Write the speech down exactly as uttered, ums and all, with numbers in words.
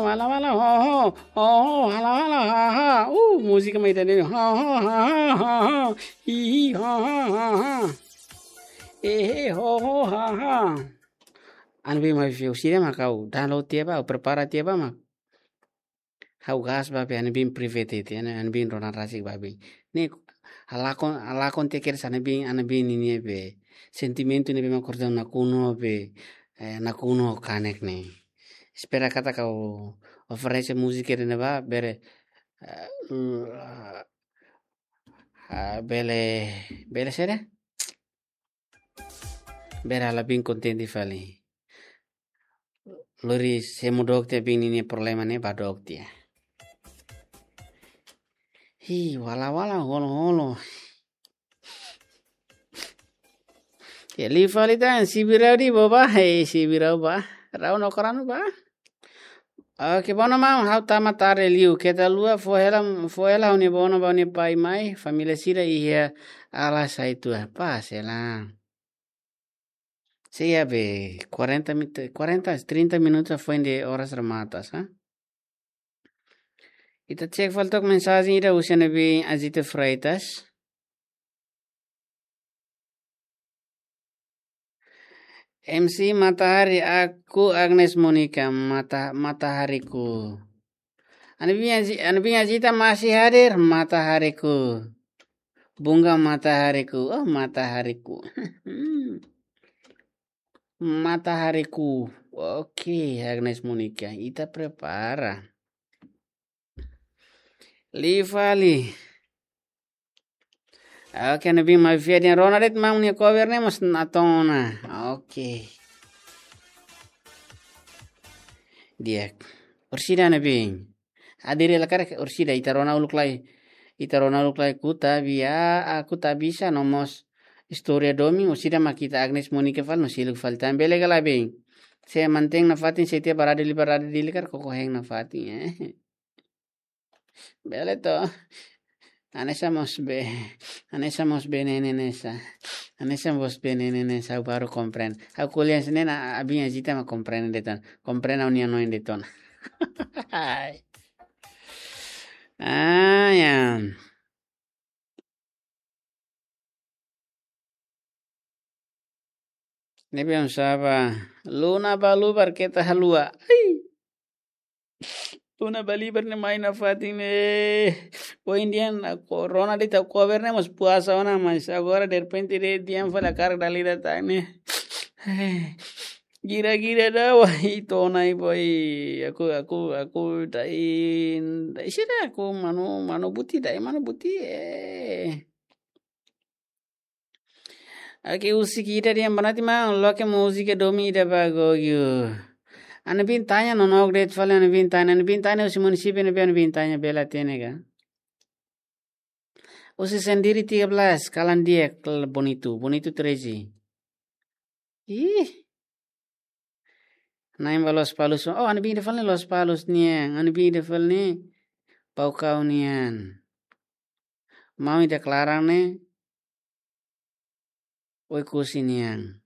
Wala wala ho ho ho ho, wala wala ha ha. Uh, múzika mai tadi. Ha ha ha ha ha ha. Hi hi ha ha ha ha. Eh, eh, ho ho ha ha. Anu bim mai fiu sira mak ha'u download tiha ba, ha'u prepara tiha ba mak. Ha'u gas ba be anu bim private tiha, anu bim rona rasik ba be. Ne'e halakon, halakon tiha kedas anu bim, anu bim ninia be sentimentu ne'ebé mak kordon nakonu be, eh, nakonu kanek ne'e. Espera katak ha'u oferese múzika ida-ne'e ba, bele, eh, l-, ah, bele, bele saida? Bele halo bim kontente fali. Lori se mu dook tiha bim ninia problema ne'e ba dook tiha. Hi, wala wala holo holo. Ya, liu fali tan, sibirau di boba, hei, sibirau ba. Rau no koranu ba. Oke, bono maun, ha'u tama tarde liu. Keta haluha, fó hela, fó hela ha'u-nia bono ba ha'u-nia pai mai, família sira iha ala sai tua. Pás hela. Sei be, quarenta mit-, quarenta, trinta minutos foin de oras remata, sa? Ita cek fali tok mensajen ida husi anu bim Azita Freitas. M C Matahari, aku Agnes Monica, mata, matahariku. Anu bim Azi-, anu bim Azita masih hadir, matahariku. Bunga matahariku, oh matahariku. Matahariku. Oke, Agnes Monica, ita prepara. Liu fali. Oke, anu bim mai fiar dehan rona de'it maun nia cover ne'e mós natoon ona. Oke. Di'ak. Orsida anu bim. Adere la karik orsida ita rona uluk lai. Ita rona uluk lai kuta bia, aku tak bisa no mós istória domin, orsida mak ita Agnes Monica fali no seluk fali tan bele ka lae bim. Se mantein nafatin se tiha barada li barada li karik koko hein nafatin, eh. Bele to. Hanesan mós be, hanesan mós be ne'e ne'e hanesan. Hanesan mós be ne'e ne'e hanesan ha'u baru komprende. Ha'u ko'alia hanesan ne'e, abin Azita mak komprende de'it ona. Komprende ha'u-nia hanoin de'it ona. Ai. Ah, ya. Ne'ebé oinsá ba, Luna Balubar keta haluha. Ai. Luna Balubar ne'e mai nafatin ne'e. Ohin dehan rona de'it ha'u cover ne'e mós puasa ona, mas agora derrepente dehan fali hakarak dala ida tan ne'e. Ai. Gira-gira ida wah, ita ona ai boy. Aku, aku, aku dai, dai sira aku manu, manu buti, dai manu buti, eh. Oke, husik ida dehan boa noite maun, loke múzika domin ida ba Gogio. Anu bim Tanya, nonook de'it fali Anu bim Tanya, Anu bim Tanya husi munisípiu ne'ebé Anu bim Tanya bele hatene ka? Husi Sendiri tiga belas, kalan di'ak, kal-, Bonitu, Bonitu treze. Ih. Na'in ba Lospalos. Oh, Anu bim ida fali Lospalos nian. Anu bim ida fali Baucau nian. Maun ida klaran ne'e Oekusi nian.